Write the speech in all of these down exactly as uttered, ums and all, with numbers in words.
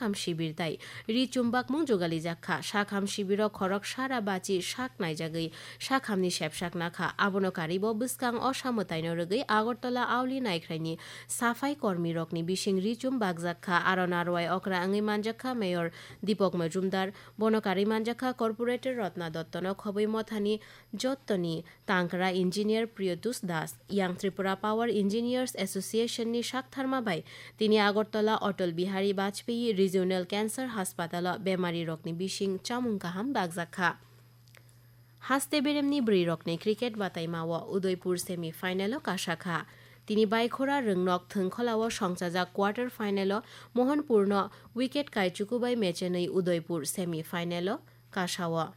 Sakham shibir tai ri chumbakmung jugalijak kha. Sakham shibiro khorok sara bachi sak naijagwi sakhamni sepsak nakha. Abono karibo bwskang osa mwtaino rwgwi Agartala Auli Naikhraini safai kormirokni bising ri chumbakjak kha. Aro narwai okra wngwi manjak kha Mayor Deepak Majumdar. Bono karwi manjak kha Corporator Ratna Dottono khobwi mothani jottoni tangkra engineer Priyotush Das. Yang Tripura Power Engineers Association ni saktharma bai tini Agartala Atal Bihari Vajpayee Regional Cancer Hospital o bemari rokni bising chamung kaham bakjak kha. Haste beremni bwrwi rokni cricket bataima o Udaipur semi final o kasa kha. Tini Baikhora Rwngnok Thwngkhola o songchajak quarter final o Mohanpur no wicket kaichuku bai mechenwi Udaipur semi final o kasa o.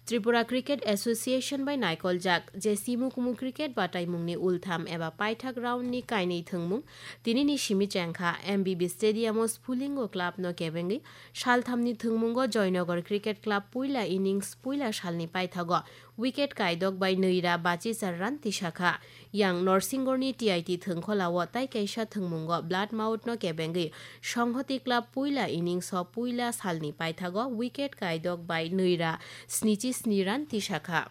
Tripura Cricket Association bai naikoljak je simu kumu cricket bataimungni ultham eba paithak round ni kainwi thwngmung tinini simi chengkha. M B B Stadium o Spulingo Club no kebengwi salthamni thwngmungo Joynagar Cricket Club puila innings puila salni paithago wicket kaidok bai nwi ra bachichar run tisakha. Yang Norsingorni T I T Thwngkhola o tai kaisa thwngmungo Bloodmouth no kebengwi Songhoti Club puila innings o puila salni paithago wicket kaidok bai nwi ra snichi sni run tisakha.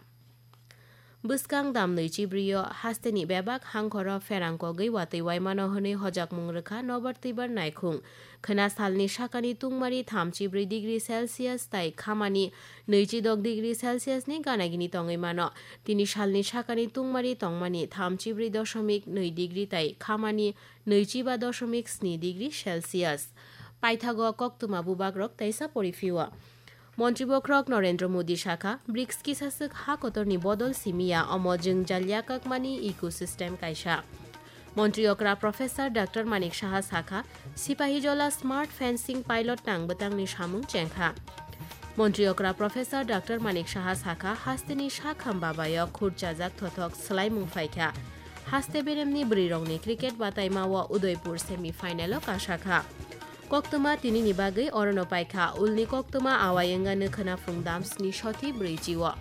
Bwskang dam nwichi brio hasteni bebak hangkhoro pherang kogwi watwi waimano hwnwi hojakmung rwkha Nobar Twibar Naikhung. Khwna salni sakani tungmari thamchi bwrwi degree Celsius tai khamani nwichi dok degree Celsius ni ganagini tongwi mano. Tini salni sakani tungmari tongmani thamchi bwrwi doshomik nwi degree tai khamani nwichi ba doshomik sni degree Celsius. Paithago koktwma bubagrok teisa poriphio. Montri bokhorok Narendra Modi sakha, brics kisaswk ha kotorni bodol simiya, omo jwngjal yakakmani ecosystem kaisa. Montri okra Professor Doctor Manik Saha sakha, Sipahijola smart fencing pilot nang bwtangni samung chengkha. Montri okra Professor Doctor Manik Saha sakha, hasteni sakham babayo khurchajak thothok swlaimung phaikha. Haste beremni bwrwirokni cricket bataima o Udaipur semi final o kasakha. Koktwma tinini bagwi orono paikha, ulni koktwma awai wngano khwna phung dam sni soti bwrwi chi o.